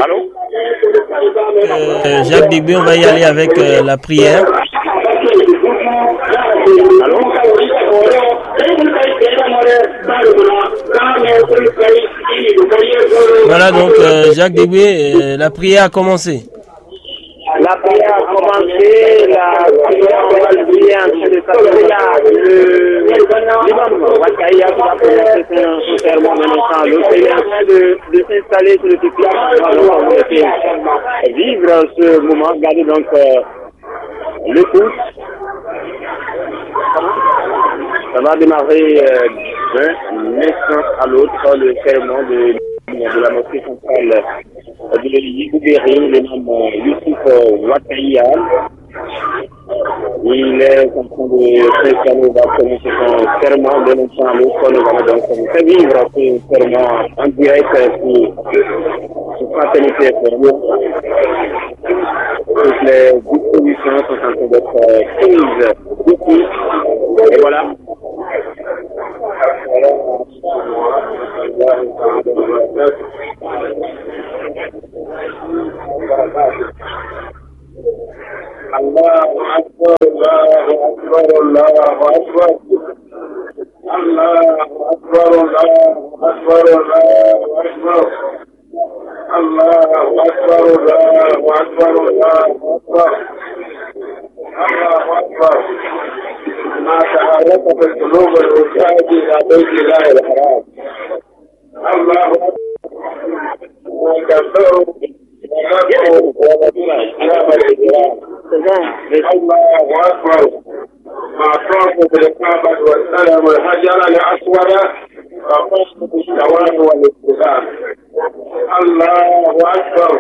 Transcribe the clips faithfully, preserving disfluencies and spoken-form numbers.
Allô? Euh, Jacques Degbe, on va y aller avec euh, la prière. Allô? Voilà, donc euh, Jacques Degbe, euh, la prière a commencé. La prière a commencé, la prière, on va le prier en train de s'appeler là. Le, l'imam Wakaya qui va prononcer son, son sermon dans l'instant. Le Seigneur est en train de, de s'installer sur le peuple. On va donc vivre ce moment. Regardez donc euh, le coup. Ça va démarrer euh, d'un instant à l'autre le sermon de, de la mosquée centrale de Yibouguéry, le nom euh, Youssouf euh, Wakaya. Il est en train de s'installer, il va commencer son serment de l'instant à l'autre. Nous allons donc faire vivre ce serment en direct sur, sur Fraternité F M. Toutes les dispositions sont en train d'être euh, prises ici. Et voilà. الله أكبر، الله أكبر، الله أكبر. الله أكبر، الله أكبر، الله أكبر. الله أكبر، الله أكبر، الله أكبر. الله أكبر. ما تحركت القلوب الوجاهة إلى بيت الله الحرام. الله أكبر. الله أكبر. ما طافوا بالكعبة واستلموا الحجر الأسود فطافوا بالطواف والاستدامة. الله أكبر.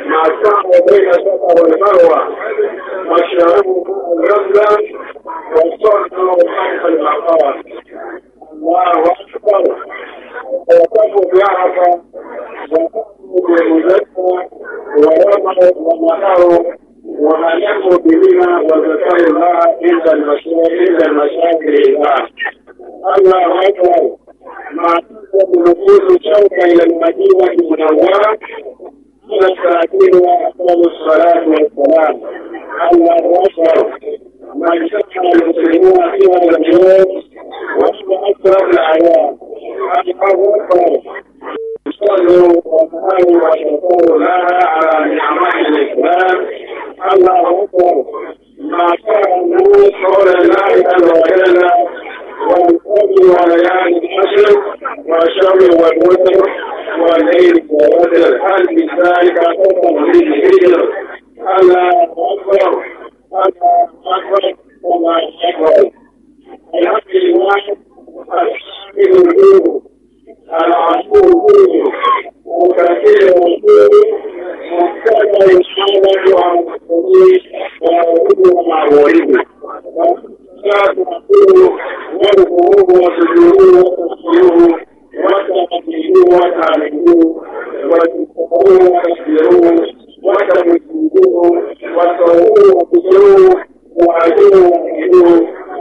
ما سعوا بين الصفا والمروة وشربوا ماء زمزم وصلوا خلف المقام. الله أكبر. وقفوا بعرفة وقفوا بمزدلفة ورموا ونحروا وعلموا بمنى وذكروا الله عند المشاعر، عند المشاعر الإله. الله أكبر. ما تنزل نفوس شوقا إلى المدينة المنورة على ساكنها أفضل الصلاة والسلام. الله أكبر. ما اجتمع المسلمون في هذا اليوم وهو أشرف الأعياد. الله أكبر. صلوا وسلموا وشكروا لها على نعمة الإسلام. الله أكبر. ما كان الناس حول الله عز وجل والفجر وليال العشر والشفع والوتر والليل إذا يسر. هل من ذلك قسم للهجر؟ الله أكبر. الله أكبر. الله أكبر. الحمد لله. الحمد لله. العفو، متكئ، مبتدأ الحالة عن المسلمين ويقول مع غيره. والصلاة والسلام والقلوب والسجود والتسبيح والتقديم والتعليم والتكبير والتكبير والتمجيد والصوم والقصور وأجره وأجره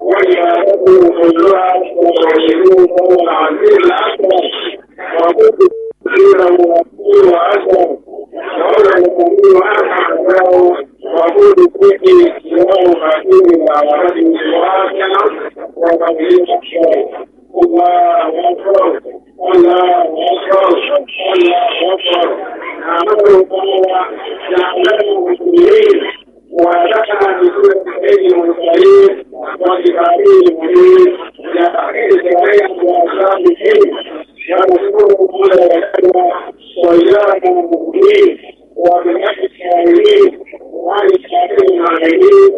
وعبادته كلها وتوحيده فهو العزيز الأكبر. وقلت كثيرا وأكثر وأكثر. وهو القوي أرحم الله. وقلت فيه سواه خاتم الأعراج وآخر وقبيل أكثر. الله أكبر. الله أكبر. الله أكبر. نحمده تعالى جعلنا مسلمين ورزقنا بسنة سيد المرسلين وكتابه المبين إلى آخر الزمان وأصحابه. ونشكره على ذلك وإياكم مؤمنين. وبنفس الشاعرين وعن الشاعر المعلمين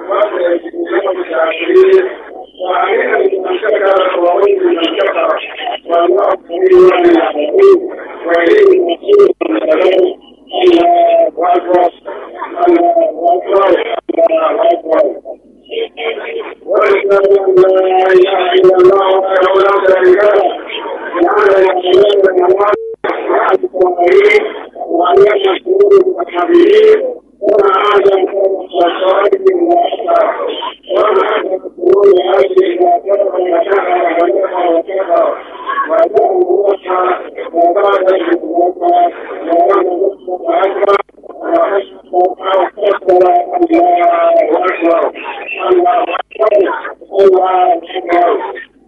وسيجزيهم الشاكرين. وعلينا بمن شكر وويل من كفر. والله خير العالمين. وإليه المصير والسلام. الله أكبر. الله أكبر. الله أكبر. وأشهد أن لا إله إلا الله وحده لا شريك له. جعل الأنبياء والمرسلين وعلى المشهور والحبيبين وما أعظم الصالحين وأكثر وما أعظم القرون هذه ما كثر ونحر ونفع وكثر وجعل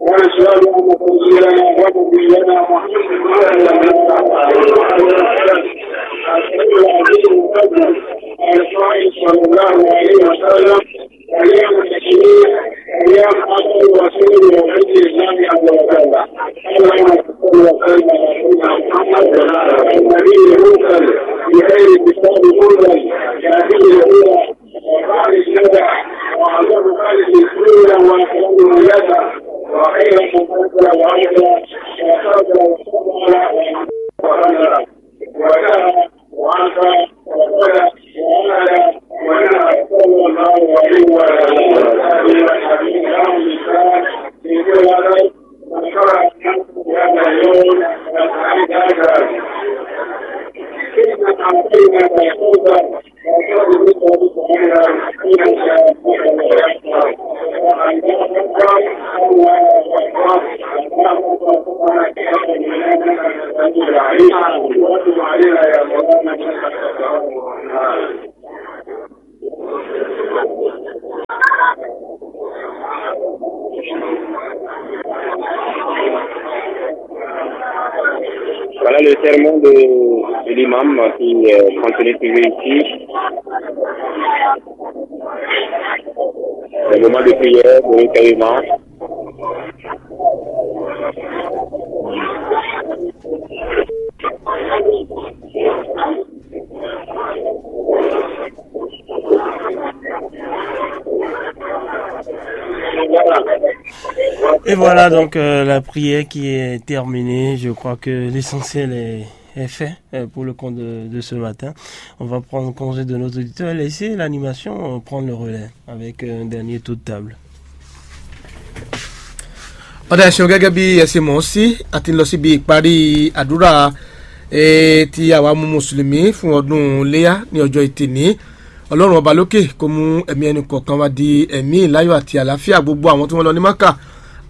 ونشهد أن سيدنا ونبينا محمدا صلى الله عليه وسلم القائل صلى الله عليه وسلم: أيام التشريق أيام أكل وشرب وذكر الله عز وجل. اللهم صل وسلم على سيدنا محمد النبي المرسل بخير كتاب أنزل، يهديه الهدى وبعد الندى وأعظم خالق الدنيا وأكرمه يدا وخير من أنزل وأبدى وصلى وسلم على وعلى وعلى وعلى وعلى وعلى صلى الله عليه وعلى آله وصحبه وسلم. Voilà le sermon de, de l'imam qui euh, continue toujours ici. Le moment de prière, de recueillement. Et voilà donc euh, la prière qui est terminée. Je crois que l'essentiel est, est fait euh, pour le compte de, de ce matin. On va prendre congé de nos auditeurs et laisser l'animation euh, prendre le relais avec euh, un dernier tour de table. Ọ̀dà ẹ̀sìn gẹ́gẹ́ bí ẹ ṣe mọ̀ ọ́ sí, a ti ń lọ síbi ìparí àdúrà tí àwa mú mùsùlùmí fún ọdún léyà ní ọjọ́ ìtìní. Ọlọ́run ọba lókè kó mú ẹ̀mí ẹnì kọ̀ọ̀kan wá di ẹ̀mí ìláyọ̀ àti àlàáfíà gbogbo àwọn tí wọ́n lọ ní Mákà.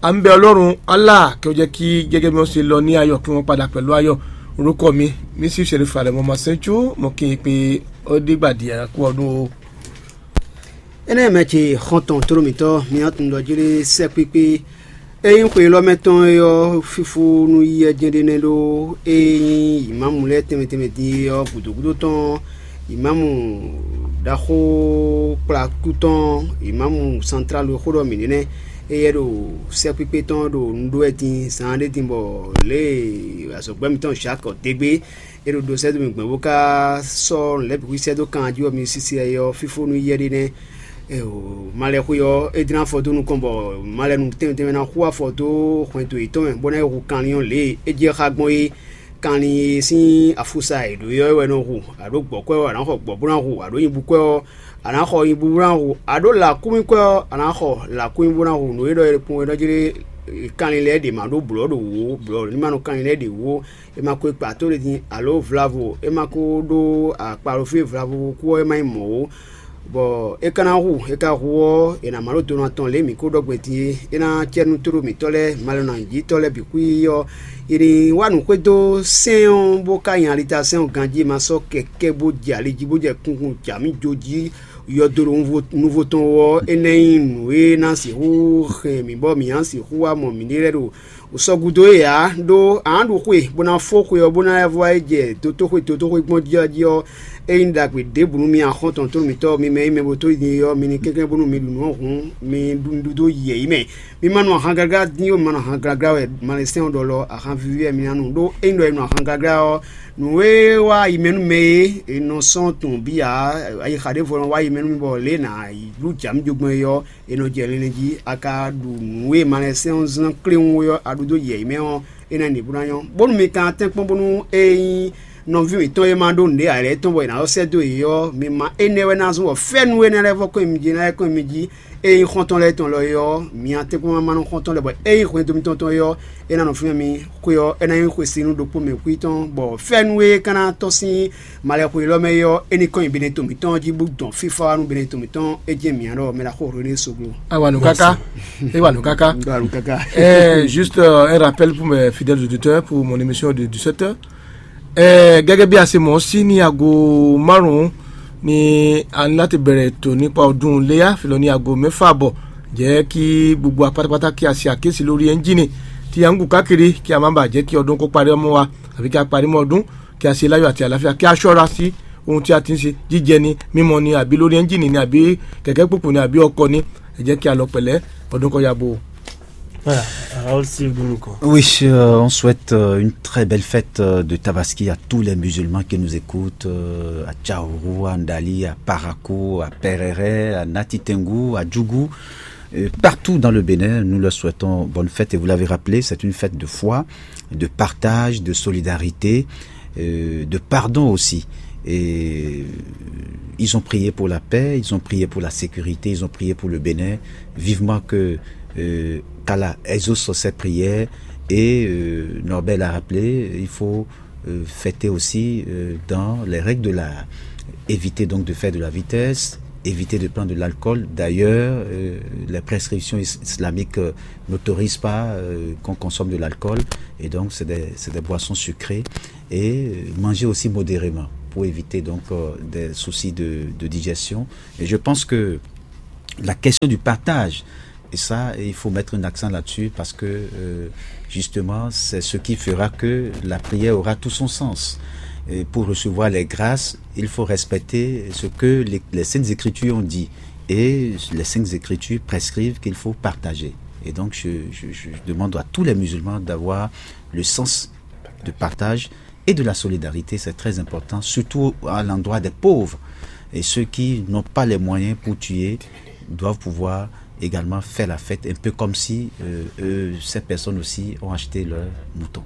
À ń bẹ Ọlọ́run Allah kí ó jẹ́ kí gẹ́gẹ́ bí wọ́n ṣe lọ ní ayọ̀ kí wọ́n padà pẹ̀lú ayọ̀. Orúkɔ mi, Mísí Ṣeré Falẹ̀ mọ́ Masẹ́jú, mo kí n pé ó dìgbà díẹ̀ kú ọdún o. Énɛ́ mɛ ce xɔ́ntɔn tlóló mǐtɔn mǐtɔn ɖɔ jí ɖé sɛ́kpékpé. É nyí xwe élɔ́ mɛ tɔn é ɔ́, fífó nú yí ɛ jɛ́n ɖé nɛ́ ɖó é nyí yǐmámu lɛ́ɛ tɛnmɛ tɛnmɛ din é ɔ́, gǔdo gúdo tɔn yǐmámu ɖaxó kplakú tɔn yǐmámu santrálu e xó ɖɔ mǐ ɖe nɛ́. Éyɛ́ ɖo sɛ́kpékpé tɔn ɖo nu ɖó wɛ din zaan ɖé din bɔ lě e azɔ̌gbɛ́ mǐtɔn Jacques dégbé é ɖo ɖo sɛ́ dó mì gbɔn bó ká sɔ́ nǔ lɛ́ɛ bǐ xwí sɛ́ dó kan jí ɔ́, mi sisi ɛ ɔ́ fífó nú yɛ ɖé nɛ́. Malɛxwe ɔ́, é dlán afɔ dó nukɔn bɔ malɛnu tɛnmɛ tɛnmɛ ná xú afɔ dó hwɛndo yětɔn mɛ, bó ná yi hu kanlin ɔ́ lě e é jɛ xá gbɔn é. Kanlin e sín afúsa è ɖǒ é ɔ́ wɛ nɔ hu, a ɖǒ gbɔ̌ kwɛ́ ɔ́, a nǎ xɔ gbɔ̌ bó ná hu, a ɖǒ nyibú kwɛ́ ɔ́, a nǎ xɔ nyibú bó ná hu, a ɖǒ lǎkúnmí kwɛ́ ɔ́, a nǎ xɔ lǎkúnmí bó ná hu. Nǔ e ɖɔ é kpɔ́n é ɖɔ jí ɖé, kanlin lɛ́ɛ ɖě ma ɖó blɔ̌ ɖo wǔ ó, blɔ̌ ní ma nɔ kanlin lɛ́ɛ ɖě wú ó. È ma ko kpa tó ɖe din alo vlavo, è ma ko ɖó akpalofí vlavo kú ɔ́, é ma nyí mɔ̌ ó. Bɔ é ka ná hu, é ka hu ɔ́, è nǎ má ɖó donu atɔn lě mǐ ko ɖɔ gbɛn din é. É ná cɛ nú tóɖó mǐtɔn lɛ́ɛ, malɔnajítɔ́ lɛ́ɛ bǐ xwí ɔ́, è nǐ wa nǔ xwedó sɛ́n ɔ́, bó ka nyi alitasɛ́n ɔ́ ganjí, è ma sɔ́ kɛkɛ́ bó jɛ ali jí bó jɛ kunkun jǎ mì jó jí. Yɔdo ɖo nuvo tɔn wú ɔ́, énɛ́ nyí nǔ e ná sixú hɛn mǐ bɔ mǐ ná sixú wá mɔ mǐɖée lɛ́ɛ ɖo sɔgúdo é ǎ, ɖó a nǎ ɖu xwe bó ná fó xwe ɔ́, bó ná lɛ́ vɔ wá yi jɛ dotóxwe dotóxwe gbɔn jí ɔ́ jí ɔ́, é nyí ɖagbe ɖěbǔ nú mi axɔ́ntɔn tlóló mǐtɔn, mi mɛ e nyí mɛ bo tó din é ɔ́, mi ní kɛnklɛ́n bónú mi ɖu nǔ ɔ́ hǔn, mi ɖu nǔ ɖó yɛ̌yi mɛ. Mi ma nɔ ahan gaglá dín ó, mi ma nɔ ahan gaglá wɛ malɛsɛn ɔ́ ɖɔ lɔ, ahan víví wɛ mi ná nu, ɖó ényí ɖɔ è nɔ ahan gaglá ɔ́, nǔ e wá yi mɛ nú mɛ é, è nɔ sɔ́ tunwun bí ǎ, ayixa ɖěvo nɔ wá yi mɛ nú mi bɔ lě e è nǎ yi ɖú jǎ mì jogbɛ́n é ɔ́, è nɔ jɛ linlin jí, a ka ɖu nǔ e malɛsɛn ɔ́ zán kléwún é ɔ́, a ɖu dó yɛ̌yi mɛ ɔ́, é ná ɖe bó ná nyɔ́. Bónú mi ka tɛ́nkpɔ́n bónú é nyí nɔví mǐtɔn e ma ɖó nǔɖé ǎ lɛ́ɛ tɔn bɔ è nǎ sɔ́ sɛ́ dó yě ɔ́, mi ma énɛ́ wɛ ná zɔ́n bɔ fɛ́nú énɛ́ lɛ́ɛ vɔ kɔn nyi mi jí, ná lɛ́ kɔn nyi mi jí. Ényí xɔ́ntɔn lɛ́ɛ tɔn lɔ é ɔ́, mi atɛ́nkpɔ́n ma nɔ xɔ́ntɔn lɛ́ɛ, bɔ ényí hwɛndo mitɔn tɔn é ɔ́, é ná nɔ fínɛ́ mi. Xwe ɔ́, é ná nyí xwesínú ɖokpó mɛ kwí tɔn, bɔ fɛ́nú e ka ná tɔ́n sín malɛxwe élɔ́ mɛ é ɔ́, é ní kɔn nyi Benɛto mǐtɔn jí bó dɔn fífá wá nú Benɛto mǐtɔn. É jɛ́n mǐ ɖɔ mɛ ɖaxó René Soglo. Awa nǔ káká. É wa nǔ káká. Ɖo alu káká. Eh, juste euh, un rappel pour mes fidèles auditeurs pour mon émission de dix-sept heures. Eh, gẹ́gẹ́ bí a ṣe mọ̀ ọ́ sí ní aago márùn-ún ní a ní láti bẹ̀rẹ̀ ètò nípa ọdún iléyá, fi lọ ní aago mẹ́fà àbọ̀. Jẹ́ kí gbogbo apátápátá kí a ṣe àkíyèsí lórí ẹ́ńjìnì tí a ń gùn káàkiri, kí a má bàa jẹ́ kí ọdún kó parí ọmọ wa, àbí kí a parí mọ́ ọdún, kí a ṣe láyọ̀ àti àlàáfíà, kí a ṣọ́ra sí ohun tí a ti ń ṣe, jíjẹ ni, mímọ ni, àbí lórí ẹ́ńjìnì ni, àbí kẹ̀kẹ́ kpukpu ni, àbí ọkọ̀ ni. Ẹ jẹ́ kí a lọ pẹ̀lẹ́, ọdún kó yá bò. Voilà, Raoul Steve Gounoukon. Oui, euh, on souhaite euh, une très belle fête euh, de Tabaski à tous les musulmans qui nous écoutent, euh, à Tchaourou, à Ndali, à Parakou, à Péréré, à Natitengu, à Djougou. Euh, partout dans le Bénin, nous leur souhaitons bonne fête. Et vous l'avez rappelé, c'est une fête de foi, de partage, de solidarité, euh, de pardon aussi. Et euh, ils ont prié pour la paix, ils ont prié pour la sécurité, ils ont prié pour le Bénin. Vivement que euh, qu'Allah exauce ces prières. Et euh, Norbert l'a rappelé, il faut euh, fêter aussi euh, dans les règles de l'art. Éviter donc de faire de la vitesse, éviter de prendre de l'alcool. D'ailleurs, euh, les prescriptions is- islamiques euh, n'autorisent pas euh, qu'on consomme de l'alcool. Et donc, c'est des, c'est des boissons sucrées. Et euh, manger aussi modérément pour éviter donc euh, des soucis de, de digestion. Et je pense que la question du partage, et ça, il faut mettre un accent là-dessus parce que euh, justement, c'est ce qui fera que la prière aura tout son sens. Et pour recevoir les grâces, il faut respecter ce que les, les Saintes Écritures ont dit. Et les Saintes Écritures prescrivent qu'il faut partager. Et donc, je, je- je demande à tous les musulmans d'avoir le sens de partage et de la solidarité. C'est très important, surtout à l'endroit des pauvres. Et ceux qui n'ont pas les moyens pour tuer doivent pouvoir également faire la fête, un peu comme si euh, eux, ces personnes aussi ont acheté leur mouton.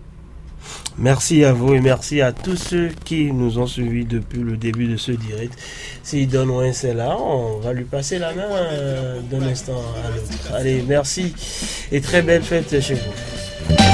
Merci à vous et merci à tous ceux qui nous ont suivis depuis le début de ce direct. S'il donne un c'est là, on va lui passer la main euh, d'un instant à l'autre. Allez, merci et très belle fête chez vous.